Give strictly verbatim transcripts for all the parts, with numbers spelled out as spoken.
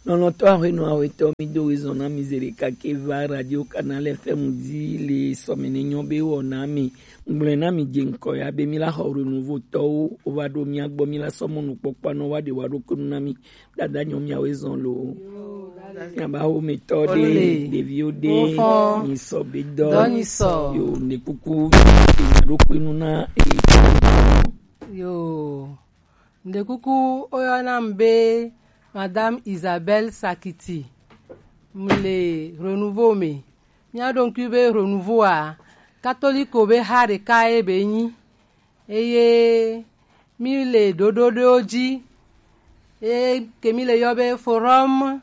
Lɔlɔ̃tɔ ahuenɔ ahuetɔ, mi do wezɔn na mi zele kake va Radio Canal F M di le sɔmɛ ne nyɔ be wɔ na mi. Ngblɔe na mi je ŋkɔ ya be mi la xɔ renouveau tɔwo, wo va ɖo mia gbɔ, mi la sɔ mɔnukpɔkpɔ anɔ wa ɖe wa ɖo kunu na mi. Dada nyɔ mia wezɔn lo. Miaba wo me tɔ ɖe, ɖeviwo ɖe, mi sɔ be dɔ. Dɔ ni sɔ. Yo, ne kuku, ɖo kunu na, e, yo. Ŋɖekuku woyɔna m be Madame Isabelle Sakiti. M le Renouveau me. Míaɖo ŋkui be Renouveau a, katoliko be ha ɖeka ye be nyi. Eye mi le ɖoɖo ɖewo dzi. Eye ke mi le yɔ be Forum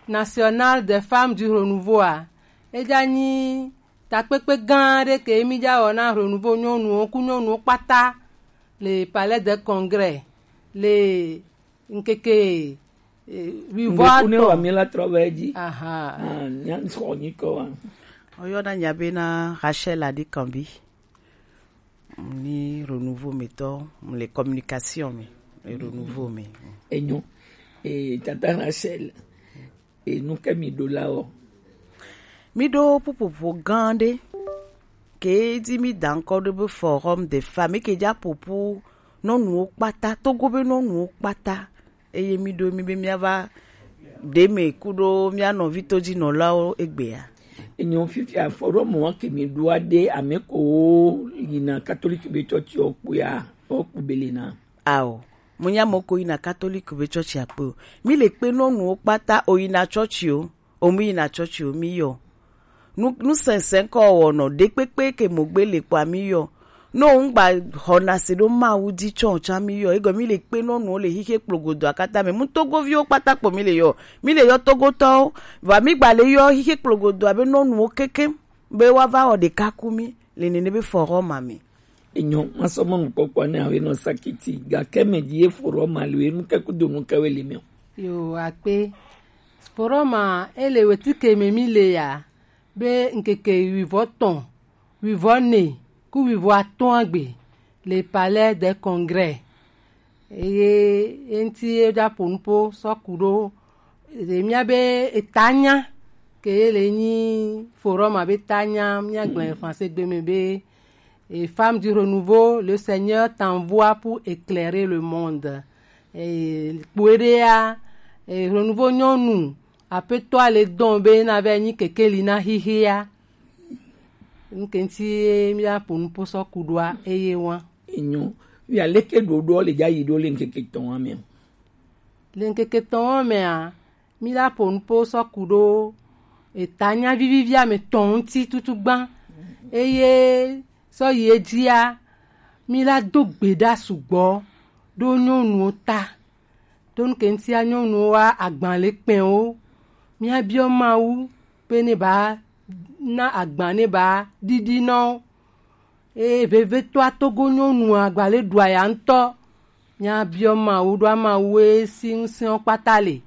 National des Femmes du Renouveau a, edza nyi takpekpe gã aɖe ke mi dza wɔ na Renouveau nyɔnuwo ku nyɔnuwo kpata le Palais de Congrès le ŋkeke, eh, wivɔ atɔ̃. Ŋɖeku ne wa mi la trɔ va edzi. Aha. Ah, nya xɔ nyi kɔ wa. Woyɔna nya be na Rachel Adikanbi. Ni Renouveau me tɔ, m le communication me, le Renouveau me. Enyo. Eh, tata Rachel, e nu ke mi ɖo la wɔ? Mi ɖo ƒuƒoƒo gã ɖe ke di mi da ŋkɔ ɖe be Forum des Femmes, ke dza ƒoƒu nyɔnuwo kpata, Togo be nyɔnuwo kpata, eye mi ɖo mi be miava ɖe me ku ɖo mia nɔvi todzinɔlawo egbea. Enyo, fifia Forum wa ke mi ɖoa ɖe ame ko yina katolik be tsɔtsi o kpuya, o kpu bele na. Ao, mo nya mo ko yina katolik be tsɔtsi akpe o. Mi le kpe nyɔnuwo kpata, o yina tsɔtsi o, o mi yina tsɔtsi o, mi yɔ. Nu, nu sɛnsɛn kɔ wɔ nɔ ɖekpekpe ke mo gbe le kpɔ mi yɔ. No ŋgba xɔna se ɖo Mawu di tsɔ tsã mi yɔ. Egɔ mi le kpe nyɔnuwo le xixe kplogodo akata me. Mu Togoviwo kpata kpo mi le yɔ. Mi le yɔ Togotɔwo. Va mi gba le yɔ xixe kplogodo abe nyɔnuwo kekem be wa va wɔ ɖeka ku mi le nene be Forum ma me. Enyo, masɔ mɔnukpɔkpɔ ne awe nɔ Sakiti, gake me dzi ye Forum ma le we nu ke kudo nu ke we le me o. Yo, akpe. Forum ma ele wetike me mi le ya, be ŋkeke wivɔ tɔ̃, wivɔ ne, ku wivɔ atɔ̃ agbe le Palais de Congrès. Eye eŋti ye dza ƒo nuƒo sɔ ku ɖo. Eye mía be etanya ke ye le nyi Forum ma be tanya, mía gblẽ français gbe me be, et Femmes du Renouveau, le Seigneur t'envoie pour éclairer le monde. Et kpoe ɖea, et Renouveau nyɔnu, aƒetɔa le dɔn be na vɛ nyi kekeli na xixea. Ŋke ŋti ye mía ƒo nuƒo sɔ ku ɖoa, eye wa. Enyo. Via leke ɖoɖoa le dza yi ɖo le ŋkeke tɔ̃ wa me o? Le ŋkeke tɔ̃ wa mea, mi la ƒo nuƒo sɔ ku ɖo etanya vivivi ame tɔ̃ ŋuti tutu gbã. Eye sɔ yi edzia, mi la do gbe ɖa sugbɔ ɖo nyɔnuwo ta. Ɖo ŋke ŋtia nyɔnuwo wa agban le kpɛ̃ wo. Mía biɔ Mawu be ne ba na agban ne ba ɖiɖi nɔ wo. Eye vevetɔa Togo nyɔnua gba le ɖua ya ŋutɔ. Mía biɔ Mawu ɖo Mawu e si ŋusẽwo kpata le.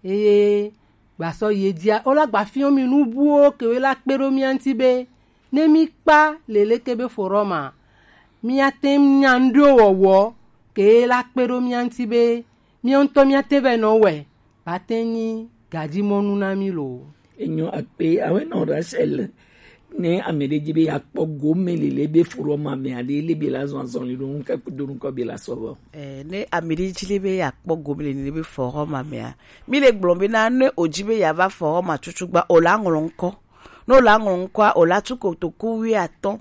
Eye gbasɔ ye dzia, wo la gba fiɔ mi nu buwo ke wo la kpe ɖo mía ŋuti be, ne mi kpa leleke be Forum ma, mía te ŋu nya ŋɖewo wɔwɔ ke la kpe ɖo mía ŋuti be, mía ŋutɔ mía te vɛ nɔ wɛ, ba te nyi gadzimɔnu na mi lo. Enyo akpe, awe nɔ Rachel, ne ame ɖe dzi be yakpɔ gome lele be Forum ma me aɖe, le be la zɔn azɔn le ɖo ŋu ke do ŋkɔ be la sɔ vɔ. Eh, ne ame ɖe dzi le be yakpɔ gome lele be Forum ma mea, mi le gblɔ be na ne o dzi be ya va Forum ma tutu gba, o la ŋlɔ ŋkɔ. Ne o la ŋlɔ ŋkɔa, o la tu kotoku wuiatɔ̃.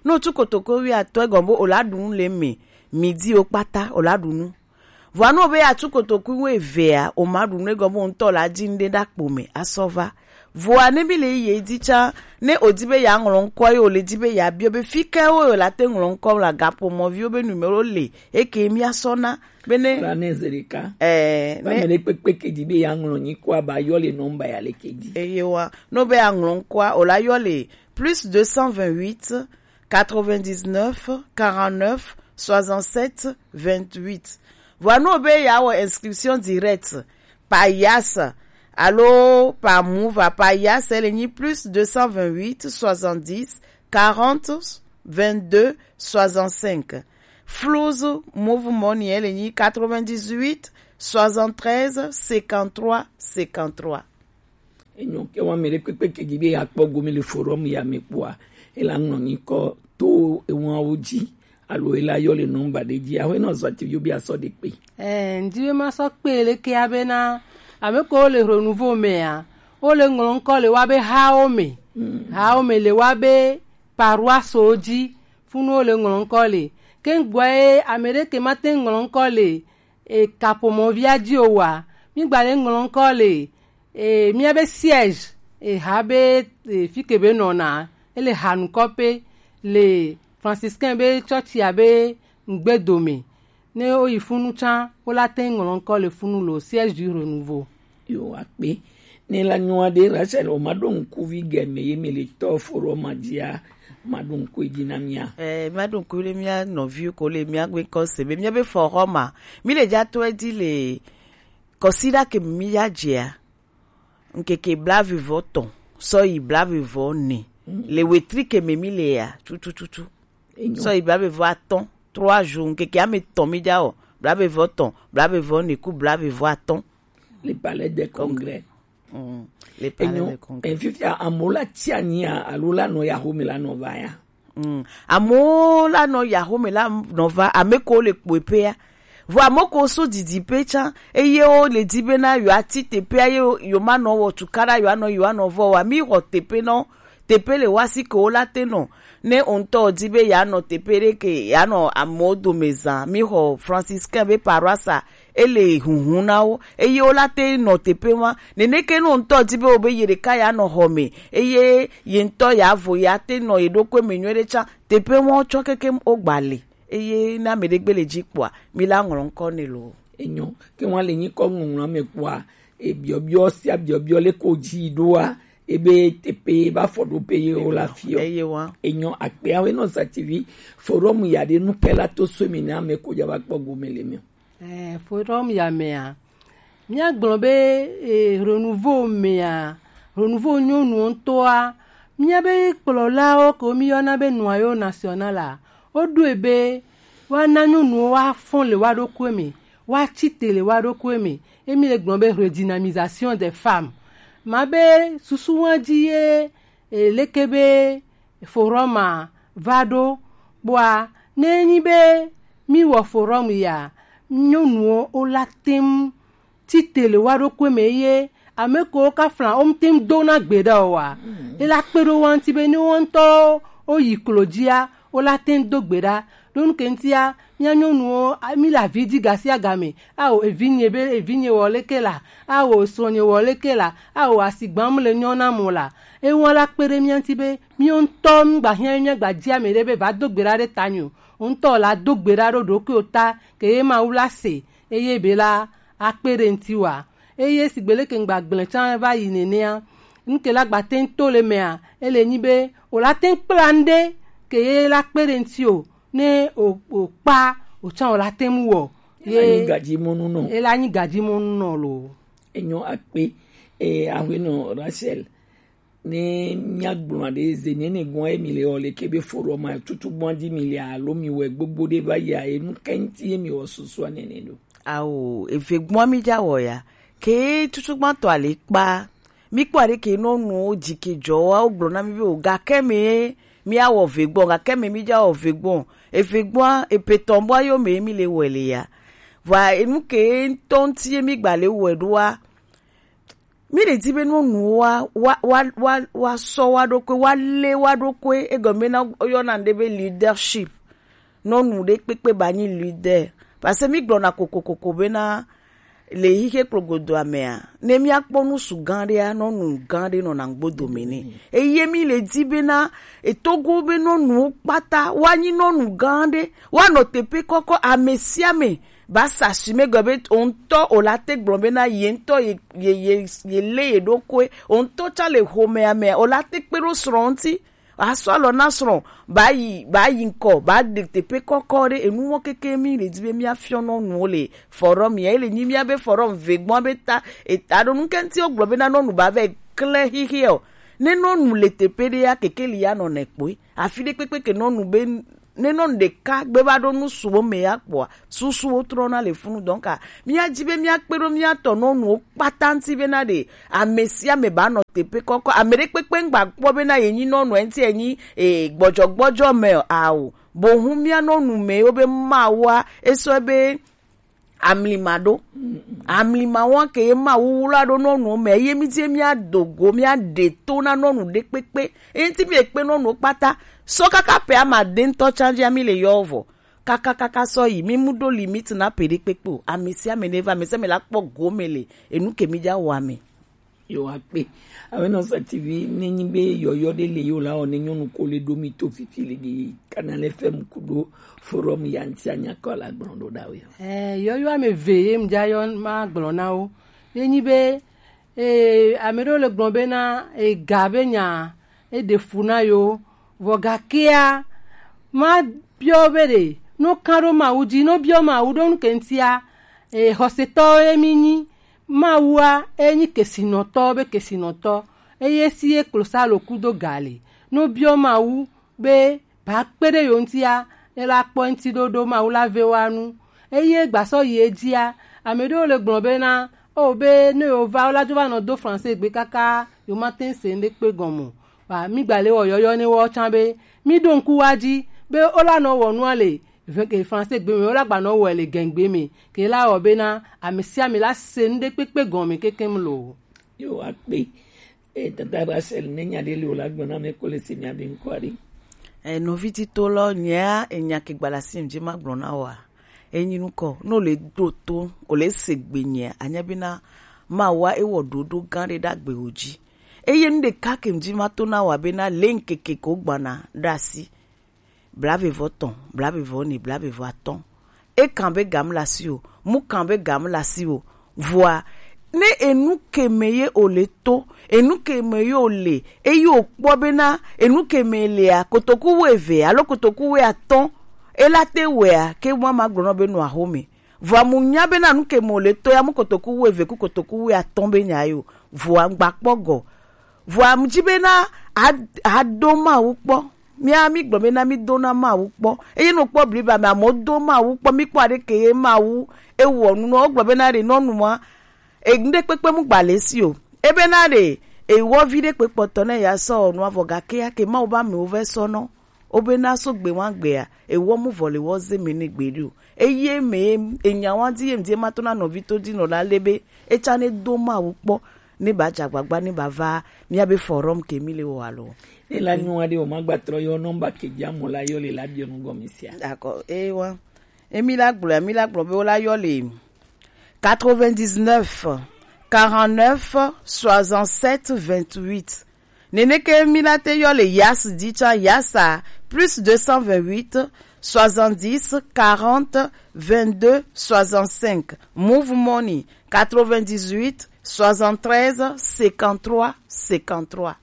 Ne o tu kotoku wuiatɔ̃, egɔme be o la ɖu nu le me, midi o kpata, o la ɖu nu. Vɔa ne o be ya tu kotoku wuievea, o ma ɖu nu, egɔme be o ŋutɔ la dzi nu ɖe ɖa kpo me, asɔ va. Vɔa ne mi le yi ye dzi tsã, ne o di be ya ŋlɔ ŋkɔ ye o le di be ya biɔ be fi ke wo yo la te ŋlɔ ŋkɔ la gapo mɔviwo be numéro le, eke mi asɔ na. Bene. La ne ze ɖeka. Eh, ne ame ɖe kpekpe ke di be ya ŋlɔ nyikɔa ba yɔ le nɔmba ya le ke di. Eye wa, no be ya ŋlɔ ŋkɔa, o la yɔ le plus deux cent vingt-huit, quatre-vingt-dix-neuf, quarante-neuf, soixante-sept, vingt-huit. Vɔa no be ya wɔ inscription directe, par yas, alo par mouva, par yas, ele nyi plus deux cent vingt-huit, soixante-dix, quarante, vingt-deux, soixante-cinq. Fluz Move Money, ele nyi quatre-vingt-dix-huit, soixante-treize, cinquante-trois, cinquante-trois. Enyo ke wa mele kpekpe ke di be ya kpɔ gomi le forum ya me kpɔa, e la ŋlɔ nyikɔ to ewanwo dzi, alo e la yɔ le nɔmba ɖe dzi. Aƒenɔ Zɔtivi, yo be asɔ ɖe kpe. Eh, ndi be ma sɔ kpe le ke abena, ame ko le Renouveau mea, o le ŋlɔ ŋkɔ le wa be hawo me. Mm. Hawo me le wa be paroisse dzi, funu o le ŋlɔ ŋkɔ le. Ke ŋgbɔ ye ame ɖe ke ma te ŋlɔ ŋkɔ le, e, kaƒomɔvia dzi o wa, mi gba le ŋlɔ ŋkɔ le, e, mía be siège, e, ha be, e, fi ke be nɔna, ele ha nukɔ pe le franciscain be tsɔtsia be ŋgbe dome. Ne wo yi funu tsã, wo la te ŋlɔ ŋkɔ le funu lo, siège du renouveau. Yo, akpe. Ne la nyɔa ɖe Rachel, o ma ɖo ŋkuvi gɛme ye mi le tɔ forum ma dzia, ma ɖo ŋku edzi na mía. Eh, ma ɖo ŋku ɖe mía nɔviwo ko le mía gbe kɔ se be mía be forum ma, mi le dza to edzi le kɔsiɖa ke mi ya dzea, ŋkeke blaeve vɔ tɔn sɔ yi blaeve vɔ ne. Mm. Le wetri ke me mi le ya, tutututu. Enyo. Sɔ yi blaeve vɔ atɔn, trois jours, ŋkeke ame tɔn mi dza wɔ, blaeve vɔ tɔn, blaeve vɔ ne ku blaeve vɔ atɔn. Le palais des congrès. Mm. Le palais des congrès. Enyo, fifia amewo la tsi anyia alo la nɔ ya home la nɔ va ya. Mm. Amewo la nɔ ya home la nɔ va, ame ko le kpɔe pea. Vɔ ame ko so didi pe tsã, eye wo le di bena yewoa ti teƒea, ye yewo ma nɔ wɔ tukaɖa, yewoa nɔ, yewoa nɔ vɔ wa. Mi xɔ teƒe nɔ, teƒe le wa si ke wo la te nɔ. Ne o ŋutɔ di be ya nɔ teƒe ɖe ke, ya nɔ amewo dome zã, mi xɔ franciscain be paroisse, ele hunhun na wo, eye wo la te nɔ teƒe ma. Neneke ne o ŋutɔ di be wo be ye ɖeka ya nɔ xɔ me, eye ye ŋutɔ ya vo ya te nɔ ye ɖokui me nyuie ɖe tsã, teƒe ma wo tsɔ keke wo gba le. Eye ne ame ɖe gbe le dzi kpɔa, mi la ŋlɔ ŋkɔ nɛ lo. Enyo, ke ŋwa le nyikɔ ŋlɔŋlɔ me kpɔa, e biɔbiɔ sia biɔbiɔ le ko dzi ɖoa, ebe teƒe ba fɔ ɖo pe ye wo la fiɔ. Eye wa. Enyo, akpe awe nɔ sa T V, forum ya ɖe nu ke la to so mi na ame ko dza va kpɔ gome le mi. Eh, forum ya mea, míagblɔ be, eh, Renouveau mea, Renouveau nyɔnuwo ŋutɔa, míabe kplɔlawo ke míyɔna be Noyau National a, woɖoe be woana nyɔnuwo woafɔ le woa ɖokui me, woatsi te le woa ɖokui me. Emi le gblɔ be redynamisation des femmes. Ma be susu wa dzi ye, eh, leke be forum a va ɖo. Kpɔa, ne enyi be mi wɔ forum ya, nyɔnuwo wo la tem tite le woa ɖokui me ye ame kewo ka fla wo ŋuti ŋu do na gbe ɖa o wa. Mm. E la kpe ɖe wo ŋuti be ne wo ŋutɔwo wo yi klo dzia, wo la te ŋu do gbe ɖa. Ɖo nu ke ŋutia, mía nyɔnuwo, a, mi le avi dzi gasiagame. Ao, evinye be, evinye wɔ leke la? Ao, srɔ̃nye wɔ leke la? Ao, asigba mu le nyɔ na mo la? Ewa la kpe ɖe mía ŋuti be míwo ŋutɔ mígba hiã míagba dzi ame ɖe be va do gbe ɖa ɖe tanye o. Wo ŋutɔ la do gbe ɖa ɖo ɖokuiwo ta, ke ye Mawu la se, eye be la akpe ɖe ŋutiwòa. Eye sigbe leke ŋgba gblẽ tsã va yi nenea, nu ke la gba te ŋu to le mea, ele nyi be wòla te ŋu kpla nu ɖe ke ye la kpe ɖe ŋuti o, ne o, o kpa o tsã wòla te ŋu wɔ. Ye ela nyi gadzimɔnu nɔ. Ela nyi gadzimɔnu nɔ lo. Enyo akpe, e, aƒenɔ Rachel. Ne míagblɔa ɖe, ze nene gɔ̃a ye mi le wɔ le ke be forum ma tutu gbɔ̃a dzi mi le alo mi wɛ gbogbo ɖe va yia, enu ka ŋuti ye mi wɔ susua nene ɖo? Ao, eve gbɔ̃a mi dza wɔ ya. Ke tutu gbãtɔ ale kpa. Mi kpɔ ale ke nɔnuwo dzi ke dzɔ wa, wo gblɔ na mi be o, gakɛ me mi awɔ ve gbɔ̃, gakɛ me mi dza wɔ ve gbɔ̃. Eve gbɔ̃a, epetɔn bɔ yo me mi le wɛ le ya. Vɔa enu ke ŋutɔ ŋuti ye mi gba le wɛ ɖoa, mi le di be nyɔnuwo wa, wa, wa, wa, wa sɔ wa ɖokui, wa le wa ɖokui, egɔme na woyɔna ŋɖe be leadership. Nyɔnu ɖe kpekpe ba nyi leader. Parce que mi gblɔna kokokoko bena le xixe kplogodoa mea, ne mi akpɔ nusu gã ɖea, nyɔnu gã ɖe nɔna ŋgbodo me nɛ. Eye mi le di bena etogo be nyɔnuwo kpata wa nyi nyɔnu gã ɖe, wa nɔ teƒe kɔkɔ, ame sia ame ba sa si me gɔ be o ŋutɔ o la te gblɔ bena ye ŋutɔ ye, ye, ye, ye le ye ɖokui, o ŋutɔ tsa le xomea mea, o la te kpe ɖo srɔ̃ ŋuti, asɔ alɔ na srɔ̃, ba yi, ba yi ŋkɔ, ba ɖe teƒe kɔkɔ ɖe, enu mɔ keke mi le di be mia fiɔ nyɔnuwo le forum ya, ele nyi mia be forum ve gbɔ̃ be ta, eta ɖo nu ke ŋuti wo gblɔ bena nyɔnu ba vɛ klẽ xixi o. Ne nyɔnu le teƒe ɖe ya, kekeli ya nɔ nɛ kpoe. Afi ɖe kpekpe ke nyɔnu be ne nɔnu ɖeka gbe va ɖo nu suwo me ya kpɔa, susuwo trɔna le funu. Donc, a, míadi be míakpe ɖo míatɔ nɔnuwo kpata ŋuti bena ɖe ame sia ame ba nɔ teƒe kɔkɔ, ame ɖe kpekpe ŋgba kpɔ bena ye nyi nɔnu, eŋuti enyi, e, gbɔdzɔgbɔdzɔ me o, ao. Boŋ mía nɔnu me wo be Mawua, esɔ be amlima ɖo. Amlima wa ke ye Mawu wla ɖo nɔnuwo me, eye mi die mía do go, mía ɖe to na nɔnu ɖe kpekpe. Eye ŋuti mi ekpe nɔnuwo kpata. Sɔ kaka ƒe amade ŋutɔ tsã dzia mi le yɔ vɔ. Kaka kaka sɔ yi, mi mu ɖo limite na ƒe ɖe kpekpe o. Ame sia ame ne va, ame sia ame la kpɔ gome le enu ke mi dza wɔa me. Yo akpe. Awenɔ Sativi, ne nyi be yɔyɔ ɖe le yo la, o ne nyɔnu ko le ɖo mi to fifi le ɖi Canal F M kudo Forum ya ŋuti anya kɔ la gblɔ ɖo ɖa o ya. Eh, yɔyɔ ame eve ye mdza yɔ ma gblɔ na wo. Ye nyi be, eh, ame ɖewo le gblɔ be na, eh, ga be nya, e ɖe fu na yo. Vɔ gakea, ma biɔ be ɖe, no kan ɖo Mawu dzi, no biɔ Mawu ɖo nu ke ŋutia, eh, xɔsetɔwo ye mi nyi. Mawua, enyi kesinɔtɔ be kesinɔtɔ, eye si ye klosalo kudo ga le. No biɔ Mawu be ba kpe ɖe yo ŋutia, ne la kpɔ ŋuti ɖoɖo Mawu la ve wa nu. Eye gbasɔ yi edzia, ame ɖewo le gblɔ be na, o be ne yo va, wo la dzo va nɔ do français gbe kaka, yo ma te se ŋɖe kpe gɔme o. Ba, mi gba le wɔ yɔyɔ ne wɔ tsã be, mi ɖo ŋku wa dzi, be wo la nɔ wɔ nua le, ve-, ke français gbe me, wo la gba nɔ wɔe le gɛngbe me, ke la wɔ be na, ame sia ame la se ŋɖe kpekpe gɔme kekem lo. Yo, akpe. E, tata Rachel, ne nya ɖe le o la gblɔ na me ko le se mia be ŋkɔ aɖe. E, nɔvi tito lɔ, nyea, enya ke gbala sim dzi ma gblɔ na wa. Enyi nukɔ, no le ɖo to, o le se gbe nyea, anya be na, ma wa e wɔ ɖoɖo gã ɖe ɖa gbe o dzi. Eye nu ɖeka ke ŋdi ma to na wa be na le ŋkeke ko gbana ɖe asi. Blavevɔ tɔn, blavevɔ ne, blavevɔ atɔn. E kan be gam la si o, mu kan be gam la si o. Vɔa, ne enu ke me ye o le to, enu ke me ye o le, eye o kpɔ be na, enu ke me lea, kotoku wo eve, alo kotoku wo atɔn, e la te wea, ke wa ma gblɔ nɔ be nɔ axome. Vɔa mu nya be na nu ke me o le to ya mu kotoku wo eve ku kotoku wo atɔn be nya yo. Vɔa ŋgba kpɔ gɔ. Vɔa mu dzi be na a, a do Mawu kpɔ. Mía mi gblɔ be na mi do na Mawu kpɔ. Eye no kpɔ bliba me amewo do Mawu kpɔ. Mi kpɔ aɖe ke ye Mawu ewɔ nu nɔ. Wo gblɔ be na ɖe nɔnua, e, ŋɖe kpekpe mu gba le si o. Ebe na ɖe, e, wɔ vi ɖe kpekpɔtɔ ne ya sɔ nua vɔ gake ya ke Mawu ba me wo vɛ sɔ nɔ. Wo be na so gbe wa gbea, e wɔ mu vɔ le wɔ ze me ne gbe ɖo. Eye me, e nya wa di ye mdi ma to na nɔvi to di nɔ la le be, e tsa ne do Mawu kpɔ, ne ba dza gbagba, ne ba va, mía be forum ke mi le wɔ alo. Ne la nyɔ aɖe o ma gba trɔ yɔ nɔmba ke dzi amo la yɔ le la biɔ nu gɔme sia. D'accord, e wa. E mi la gblɔ, mi la gblɔ be wo la yɔ le quatre-vingt-dix-neuf, quarante-neuf, soixante-sept, vingt-huit. Neneke mi la te yɔ le Yas di tsa Yasa plus deux cent vingt-huit, soixante-dix, quarante, vingt-deux, soixante-cinq. Move Money, quatre-vingt-dix-huit, soixante-treize, cinquante-trois, cinquante-trois.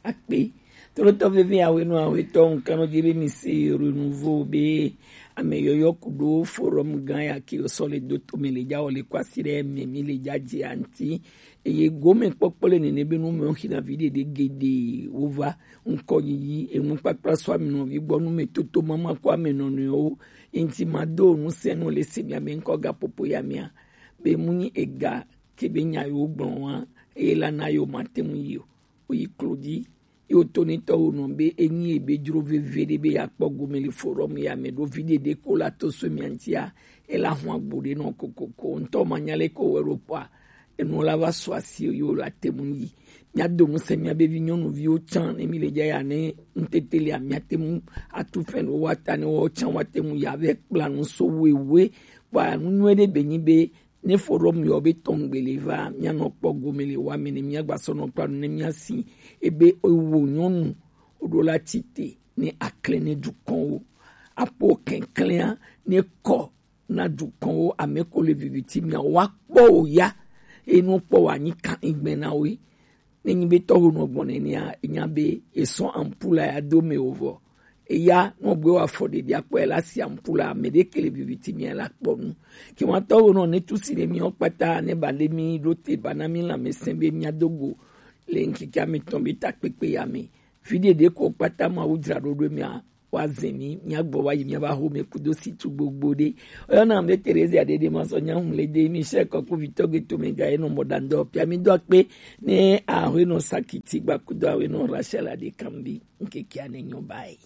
Akpe. Tolotɔ veve awe no awe tɔ nkan no dzi be mi se renouveau be ame yɔyɔ kudo forum gã ya ke sɔ le do to me le dza wɔ le kwasi ɖe me mi le dza dzi anti. Eye gomekpɔkpɔ le nene be nu me wo xina vi ɖeɖe geɖe wova ŋkɔ yiyi enukpakpla sɔ ame nɔvi gbɔ nu me toto mama kɔ ame nɔnɔewo. Enti ma do nu se nu le se mia be ŋkɔ gaƒoƒo ya mia be mu nyi ega ke be nya yewo gblɔ wa eye la na yewo ma te ŋu yi o. Woyi klo dzi. Ye woto ne tɔwo nɔ be enyi ebe dzro veve ɖe be yeakpɔ gome le forum ya me ɖo vi ɖeɖe ko la to so mia ŋutia, ela hu agbo ɖe nɔ kokoko. Ŋutɔ ma nya le ko wɛ ɖo kpɔa, enu la va sɔ asi yewo la te ŋu yi. Mia do ŋusẽ mia be vi nyɔnuviwo tsã ne mi le dza ya ne ŋutete lia mia te ŋu atu fɛn ɖo wa ta ne wo tsã wa te ŋu ya vɛ kpla nu so wewe. Kpɔa nu nyuie ɖe be nyi be ne forum yɔ be tɔngbe le va, mia nɔ kpɔ gome le wa me ne mia gba sɔ nɔ kpla nu ne mia si ebe ewo nyɔnu o ɖo la tite ne aklɛ ne dukɔnwo. Apo kɛnklɛa ne kɔ na dukɔnwo ame ko le viviti mia wa kpɔ o ya. Enu kpɔ wa nyi kan igbe na wo. Ne nyi be tɔho nɔ gbɔn nenea, enya be esɔ ampula ya do me o vɔ. Eya nɔ gbe wa fɔ ɖeɖi akpɔ ela si ampula ame ɖe ke le viviti mia la kpɔ nu. Ke wa tɔho nɔ ne tu si ne mi o kpata ne ba le mi ɖo te ba na mi la me se be mia do go le nkeke ame tɔn be ta kpekpe ya me. Vi ɖeɖe ko kpata ma wo dzra ɖo ɖo mia Wa zemi, mia gbɔ wa yi mia ba home kudo si tu gbogbo de. Oyo na mbe Teresa de de ma so nya hum le de mi she ko ku vito ge to me ga eno moda ndo pia mi do pe ne a ho no sakiti gba kudo a we no Rachel Adekambi. Nke kia ne nyo bai.